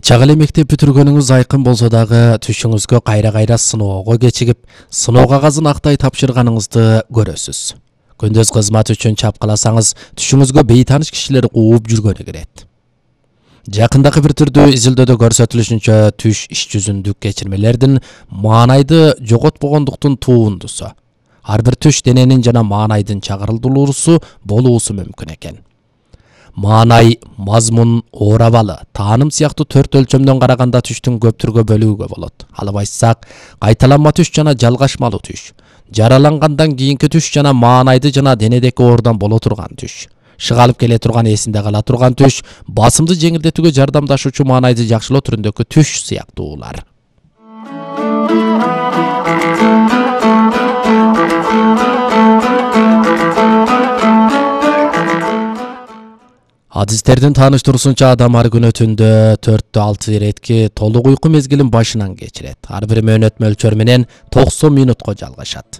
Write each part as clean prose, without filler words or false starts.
Чак эле мектеп бүтүргөнүңүз айкын болсо дагы түшүңүзгө кайра сыноого кечигип, сыноо кагазын актай тапшырганыңызды көрөсүз. Күндөз кызмат үчүн чапкыласаңыз, түшүңүзгө бейтаныш кишилер кууп жүргөнү кирет. Жакындагы бир түрдүү изилдөөдө көрсөтүлүшүнчө, түш иш жүзүндүк кечирмелердин маанайды жоготпогондуктун туундусу. Ар бир түш дененин жана маанайдын чагырылдыруусу болуусу мүмкүн экен. Маанай, мазмун, оор абалы, тааным сыяктуу 4 өлчөмдөн караганда түштүн көп түргө бөлүүгө болот. Алып айтсак, кайталанма түш жана жалгашмалуу түш, жаралангандан кийинки түш жана маанайды жана денедеки оордон боло турган түш, шыгалып келе турган эсинде кала турган түш, басымды жеңилдетүүгө жардамдашуучу маанайды жакшылоо түрүндөгү түш сыяктуулар. Адистердин тааныштыруусунча, адам ар күнү түндө 4-6 иретки толук уйку мезгилин башынан кечирет. Ар бир мөөнөт мөлчөр менен 90 минутка жалгашат.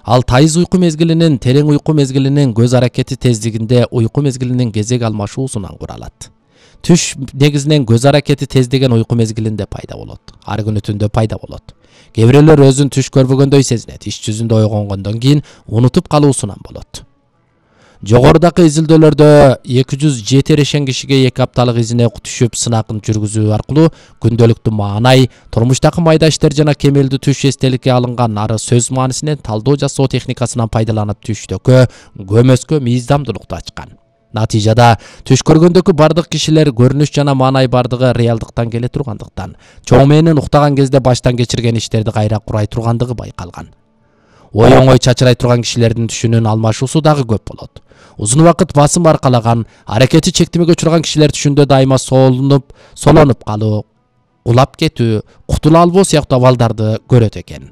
Ал тайыз уйку мезгилинин, терең уйку мезгилинин көз аракети тездигинде уйку мезгилинин кезек алмашуусунан куралат. Түш негизинен көз аракети тездеген уйку мезгилинде пайда болот. Ар күнү түндө пайда болот. Кээ бирөөлөр өзүн түш көрбөгөндөй сезинет. Иш жүзүндө ойгонгондон кийин унутуп калуусунан болот. Жогорудагы изилдөөлөрдө 207 эрешен кишиге 2 апталык изине түшүп сынакын жүргүзүү аркылуу күндөлүктүү маанай, турмуштагы майда иштер жана кемелдүү түш эстеликке алынган ары сөз маанисинен талдоо жасоо техникасынан пайдаланып түштөккө көмөскө мыйзамдуулукту ачкан. Натыйжада түш көргөндөгү бардык кишилер көрүнүш жана маанай бардыгы реалдыктан келе тургандыктан, чоң мээнин уктаган кезде баштан кечирген иштерди кайра курай тургандыгы байкалган. Оңой чачырай турган кишилердин түшүнүн алмашуусу дагы көп болот. Узун убакыт басым аркалаган, аракети чектемеге учурган кишилер түшүндө дайыма солонуп калуу, кулап кетүү, кутула албоо сыяктуу абалдарды көрөт экен.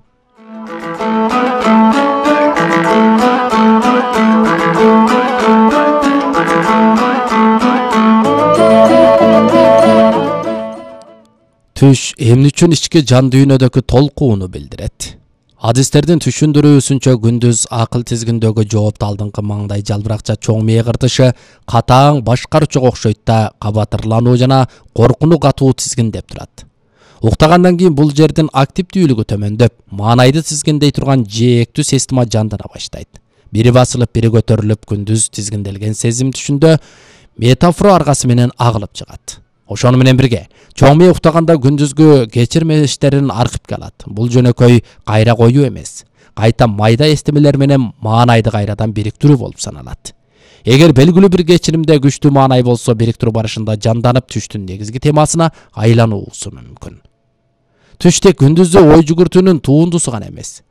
Түш эмне үчүн ички жан дүйнөдөгү толкууну билдирет. Адистердин түшүндүрүүсүнчө, күндүз акыл тизгиндөгү жоопту алдыңкы маңдай жалбыракча чоң мээ кыртышы катаң башкаруучуга окшойт да, кабатырлануу жана коркунуу катуу тизгиндеп турат. Уктагандан кийин бул жердин активдүүлүгү төмөндөп, маанайды тизгиндей турган жээктүү система жандана баштайт. Бири басылып, бири көтөрүлүп, күндүз тизгинделген сезим түшүндө метафора аргасы менен агылып чыгат. Ошону менен бирге, чоң мээ уктаганда күндүзгү кечирмештерин архивге алат. Бул жөнөкөй кайра коюу эмес, кайта майда эстемелер менен маанайды кайрадан бириктирүү болуп саналат. Эгер белгилүү бир кечиримде күчтүү маанай болсо, бириктирүү барышында жанданып түштүн негизги темасына айлануусу мүмкүн. Түш тек күндүздө ой жүгүртүүнүн туундусу гана эмес.